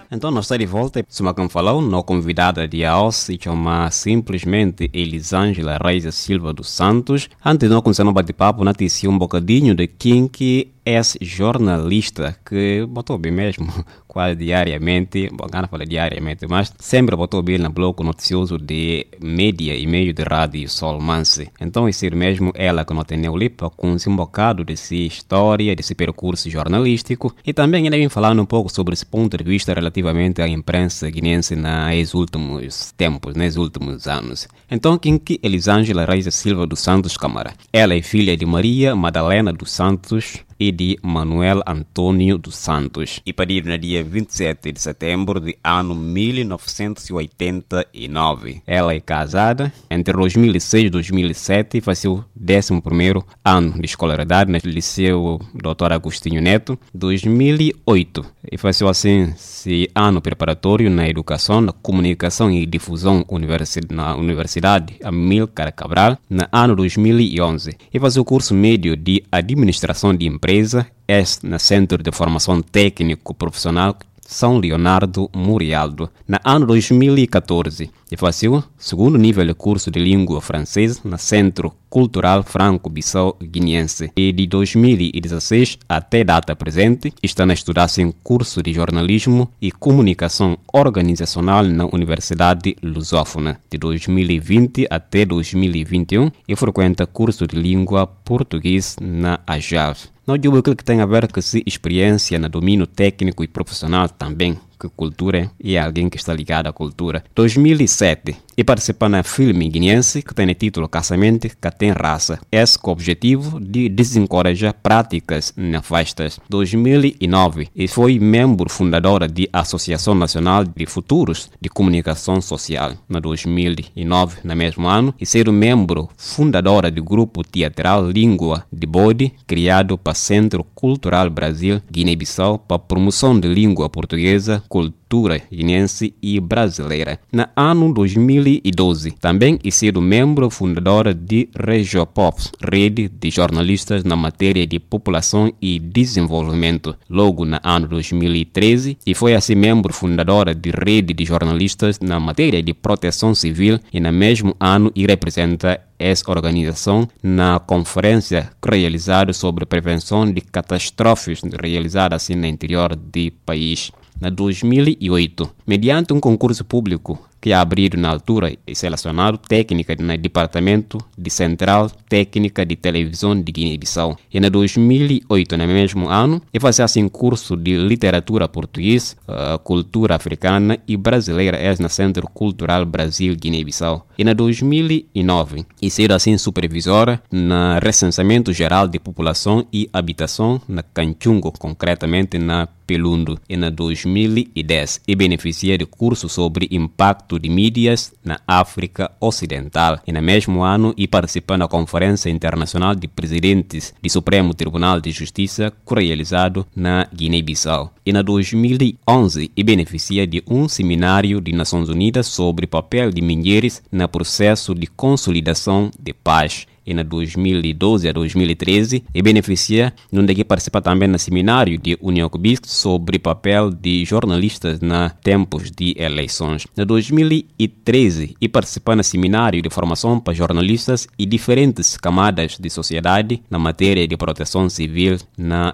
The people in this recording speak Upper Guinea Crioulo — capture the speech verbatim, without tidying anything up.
Entaun, no sta di volta. Suma ki N falau, no konvidada di aos i txoma simplismenti Elisângela Reis da Silva dos Santos. Antis no kumesa no bati-papu, no tisi un bokadinhu di kin ki es jornalista ki bo ta obi mesmu kuazi diariamenti, bon, N ka na fala diariamenti, mas sempre bo ta obi na bloku notisiozu di media i meiu di Rádiu Sol Mansi. Entaun, i sedu mesmu ela ki no teneu li pa kunsi un bokadu di si stória, di si perkursu jornalístiku, i tambi ela bin falanu un poku sobri si pontu di vista relativamenti a imprensa guineensi na es últimus tempus, na es últimus anus. Entaun, kin ki Elisângela Reis da Silva dos Santos Kamara? Ela é filha de Maria Madalena dos Santos e de Manuel António dos Santos. I paridu na dia vinte e sete de setembro de ano mil novecentos e oitenta e nove. Ela é casada. Entre dois mil e seis e dois mil e sete, fazeu décimo primeiro ano de escolaridade no Liceu doutor Agostinho Neto. Dois mil e oito, e fazeu asin si anu preparatóriu na Edukasaun, na Komunikasaun i Difuzaun universi-, na Universidade Amílcar Cabral. Na anu dois mil e onze, e fazeu kursu médiu di Administrasaun di Impreza, es na Sentru di Formasaun Tékniku Profisionál São Leonardo Murialdo. Na anu dois mil e catorze, e fazeu sugundu nivel di kursu di língua fransês na Sentru Kulturál Franku-Bisau Giniensi. I di dois mil e dezasseis ate data prezenti, sta na studa sin kursu di jornalismu i komunikasaun organizasionál na Universidade Lusófona. Di dois mil e vinte ate dois mil e vinte e um, e frekuenta kursu di língua purtugês na AJAV. No djubu kil ki ten aver ku si speriénsia na domíniu tékniku i profisionál tambi, ku kultura, i algen ki sta ligadu a kultura. Dois mil e sete, e partisipa na filmi giniensi ki tene titulu Kasamenti Ka Ten Rasa, es ku objetivu di dizenkoraja prátikas nefastas. Dois mil e nove, e foi membru fundadora di Asosiasaun Nasionál di Futurus di Komunikasaun Sosiál. Na dois mil e nove, na mesmu anu, e sedu membru fundadora di grupu teatrál Língua di Bodi, kriadu pa Sentru Kulturál Brazil Guiné-Bissau pa promosaun di língua purtugeza, kultura giniensi i brazileira. Na anu dois mil e doze, tambi e sedu membru fundadora di Regiopop, redi di jornalistas na matéria di populasaun i dizenvolvimentu. Logu na anu dois mil e treze, e foi asin membru fundadora di redi di jornalistas na matéria di protesaun sivil, i na mesmu anu e reprezenta es organizasaun na konferénsia ki realizadu sobri prevensaun di katastrofi realizadu asin na interior di país. Na dois mil e oito, medianti un konkursu públiku ki abridu na altura, e selesionadu téknika na Dipartamentu di Sentrál Téknika di Televizaun di Guiné-Bissau. I na dois mil e oito, na mesmu anu, e faze asin kursu di literatura purtugês, ah, kultura afrikana i brazileira, es na Sentru Kulturál Brazil Guiné-Bissau. I na dois mil e nove, e sedu asin supervizora na Resensamentu Jerál di Populasaun i Abitasaun na Kantxungu, konkretamenti na Pelundu. I na dois mil e dez, e benefisia di kursu sobri impaktu di mídias na Áfrika Osidentál. I na mesmu anu, e partisipa na Konferénsia Internasionál di Prizidentis di Supremu Tribunál di Justisa, ki realizadu na Giné-Bisau. I na dois mil e onze, e benefisia di un semináriu di Nasons Unidas sobri papel di mudjeris na prusesu di konsolidasaun di pas. I na dois mil e doze a dois mil e treze, e benefisia, nunde ki partisipa tambi na semináriu di Union Kubis sobri papel di jornalistas na tempus di eleisons. Na dois mil e treze, e partisipa na semináriu di formasaun pa jornalistas i diferentis kamadas di sosiedadi na matéria di protesaun sivil na